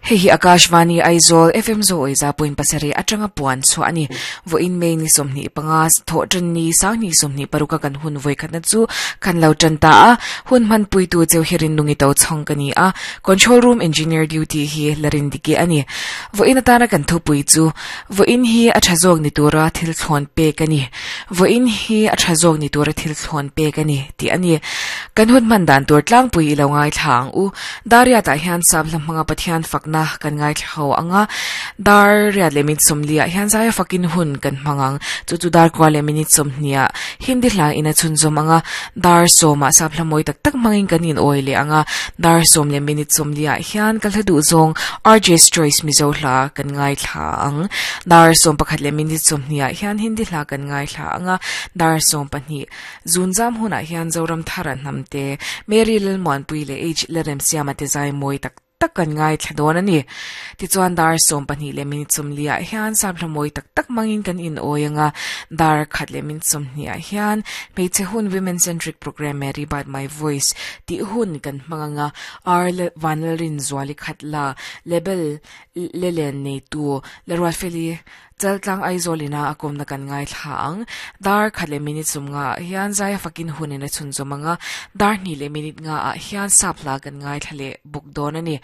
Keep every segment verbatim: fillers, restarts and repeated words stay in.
Hei hi Akashvani Aizawl F M zo oiza point pasarih atanga puan chu ani vo in May ni sawmhnih panga thaw tan ni sang ni sawmhnih paruka kan hun voi khatna chu kan lo tan ta a hun man pui tu cheu hirin nungi to chhong kani a control room engineer duty hi larin dike ani vo in atana kan thu pui chu vo in hi a thazok ni tura thil thlon pe kani vo in hi a thazok ni tura thil thlon pe kani ti ani kan hun man dan tur tlang pui ilo ngai thlang u daria ta hian sab lamanga pathian fakna kan ngai thlau anga dar ria le min somlia hian zaya fakin hun kan mangang chu chu dar kwa le minute somnia hindi hla ina chun zom anga dar soma sab hlamoi tak tak mangin kan in oile anga dar som le minute somlia hian kal hadu zong R J's Choice Mizo hla kan ngai thla ang dar som pakhat le minute somnia hian hindi hla kan ngai thla anga dar som pahnih zunzam huna hian zoram tharan namte Mary Lilmon puile H lerem siama te zai moi tak tak kan ngai thladon ani ti chuan dar som pahnih le minute somlia hian sab hlamoi tak tak mangin kan in oianga dar khat le minute somnia hian hmeichhe hun women centric program Mary by my voice ti hun kan hmanganga R vanlalrin zuali khatla level lelen nei tu lerwa feli chaltlang Aizawlina akom na kan ngai thlang dar khat le minute sumnga hian zaya fakin hunin a chun zomanga dar ni le minute nga a hian sapla kan ngai thlale buk don ani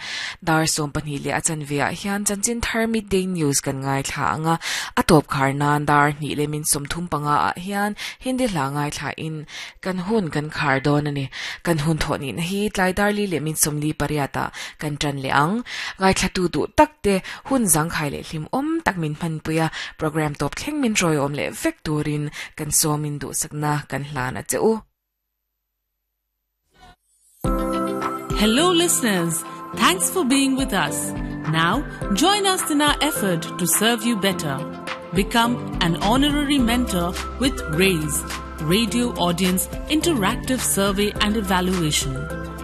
dar som pahnih le achan via hian chanchin thar midday news kan ngai thlanga atop khar nan dar ni le min som thum panga a hian hindi hla ngai thla in kan hun kan khar don ani kan hun thoni na hi tlai dar li le min som li pariata kan tran le ang ngai thla tu du takte hun zang khai le hlim om tak min phan puya program top thleng min roi om le vek turin kan somin du sakna kan hlana cheu. Hello listeners, thanks for being with us. Now join us in our effort to serve you better. Become an honorary mentor with RAISE, Radio Audience Interactive Survey and Evaluation,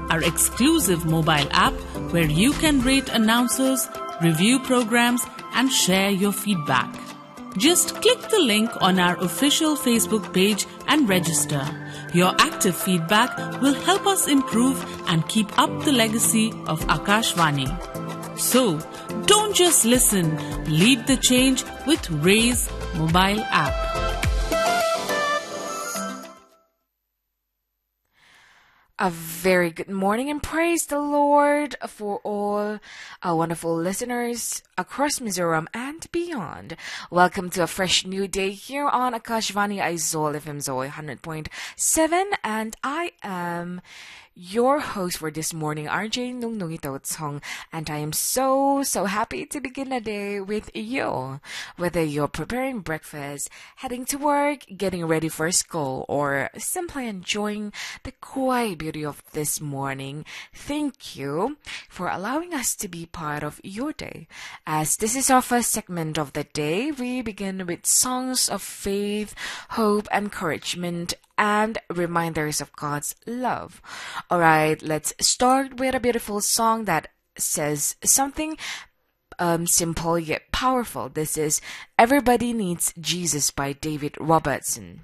our exclusive mobile app where you can rate announcers, review programs and share your feedback. Just click the link on our official Facebook page and register. Your active feedback will help us improve and keep up the legacy of Akashvani. So, don't just listen, lead the change with RAISE mobile app. A very good morning and praise the Lord for all our wonderful listeners across Mizoram and beyond. Welcome to a fresh new day here on Akashvani Aizawl F M Zoe one hundred point seven, and I am your host for this morning, R J Nung Nungito Tsong, and I am so, so happy to begin the day with you. Whether you're preparing breakfast, heading to work, getting ready for school, or simply enjoying the quiet beauty of this morning, thank you for allowing us to be part of your day. As this is our first segment of the day, we begin with songs of faith, hope, encouragement, and reminders of God's love. All right, let's start with a beautiful song that says something um, simple yet powerful. This is Everybody Needs Jesus by David Robertson.